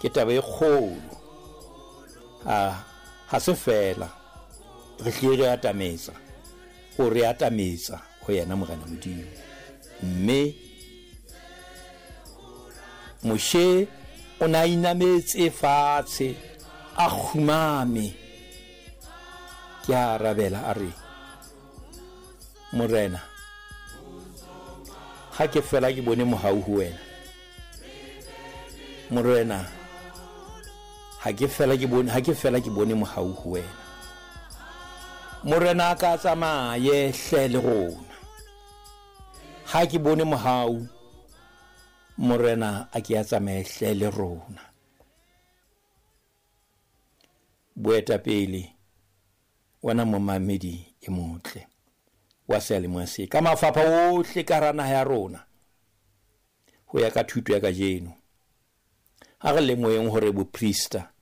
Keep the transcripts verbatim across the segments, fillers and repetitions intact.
Ke taba e kgolo. Ha ha se fela re hlile re atametsa, o re atametsa ho yena Morena Modimo. Mme Moshe o na inametse fatshe a kgumame. Ke a arabela a re, Morena, ha ke fela ke bone mohau ho wena. Morena, ha ke fela ke bone, ha ke fela ke bone mohau ho wena. Morena a ka tsamaye hle le rona. Ha ke bone mohau, Morena a ke a tsamaye hle le rona. Boetapele wena momamedi e motle wa seyalemoya se ka mafapha ohle ka hara naha ya rona ho ya ka thuto ya kajeno. Ha re lemoheng hore boprista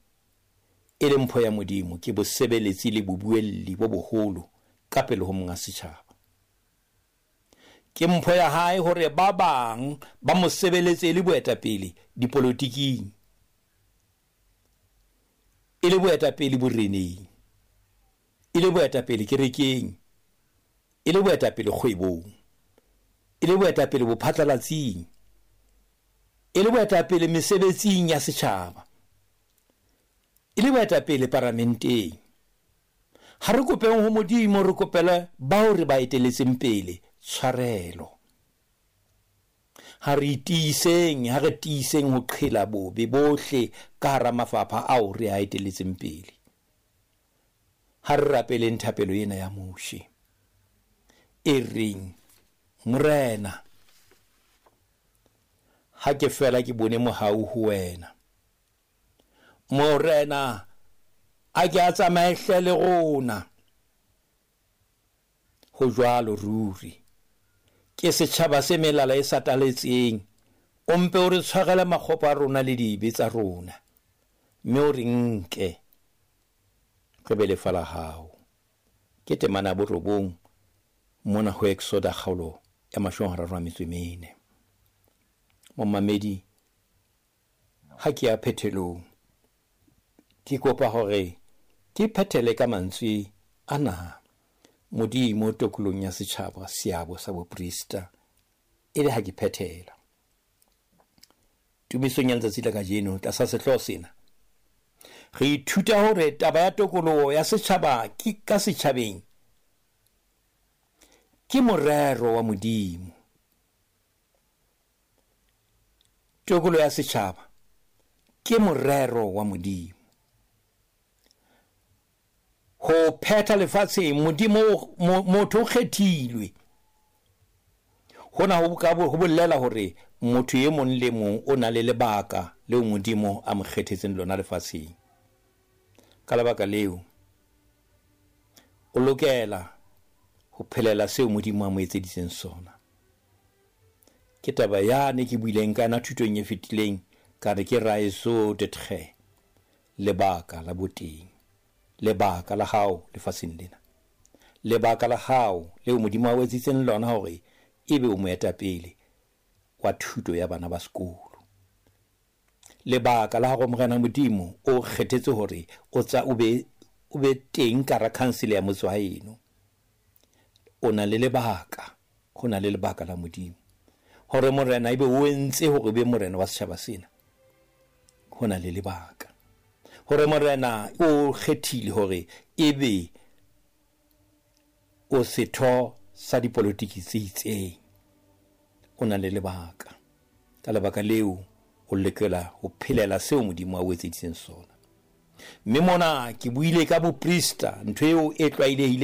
e le mpho ya Modimo ke bosebeletsi le bobuelli bo boholo ka pele ho monga setjhaba. Ke mpho ya hae hore ba bang ba mo sebeletse le boetapele dipolotiking, e le boetapele boreneng, e le boetapele kerekeng, e le boetapele kgwebong, e le boetapele bophatlalatsing, e le boetapele mesebetsing ya setjhaba, e le boetapele paramenteng. Ha re kopeng ho Modimo, re kopele bao re ba eteletseng pele tshwarelo. Ha re tiiseng, ha re tiiseng ho qhela bobe bohle ka hara mafapha ao re a eteletseng pele. Ha re rapeleng thapelo ena ya Moshe e reng, Morena, ha ke fela ke bone mohau ho wena. Morena, a ke a tsamaye hle le rona. Ho jwalo ruri. Ke setjhaba se melala e sataletseng. O mpe o re tshwarele makgopo a rona le dibe tsa rona, mme o re nke re be lefa la hao. Ke temana ya borobong mona ho Exoda kgaolo ya mashome a mararo a metso e mene. Momamedi, ha ke ya phethelong, ke kopa hore ke phethele ka mantswe ana. Modimo tokolong ya setjhaba seabo sa boprista, e le ha ke phethela tumisong ya letsatsi la kajeno tlasa sehlooho sena, re ithuta hore taba ya tokoloho ya setjhaba ke ka setjhabeng ke morero wa Modimo. Tokoloho ya setjhaba ke morero wa Modimo. Ho phetha lefatsheng, Modimo motho o kgethilwe. Hona ho ka ho bolela hore motho e mong le mong o na le lebaka leo Modimo a mo kgethetseng lona lefatsheng. Ka lebaka leo o lokela ho phelela seo Modimo a mo etseditseng sona. Ke taba yane ke buileng ka yona thutong e fetileng, ka re ke raison d'être, lebaka la boteng, lebaka la hao lefatsheng lena, lebaka la hao leo Modimo a o etseditseng lona hore ebe o moetapele wa thuto ya bana ba sekolo. Lebaka la hore Morena Modimo o kgethetse hore o tsa o be o be teng ka hara council ya motse wa heno. O na le lebaka, ho na le lebaka la Modimo hore Morena ebe o entse hore be morena wa setjhaba sena. Ho na le lebaka hore Morena o kgethile hore ebe o setho sa dipolotiki tse itseng. O na le lebaka. Ka lebaka leo o lokela ho phelela seo Modimo a o etseditseng sona. Mme mona ke buile ka boprista, ntho eo e tlwaelehileng.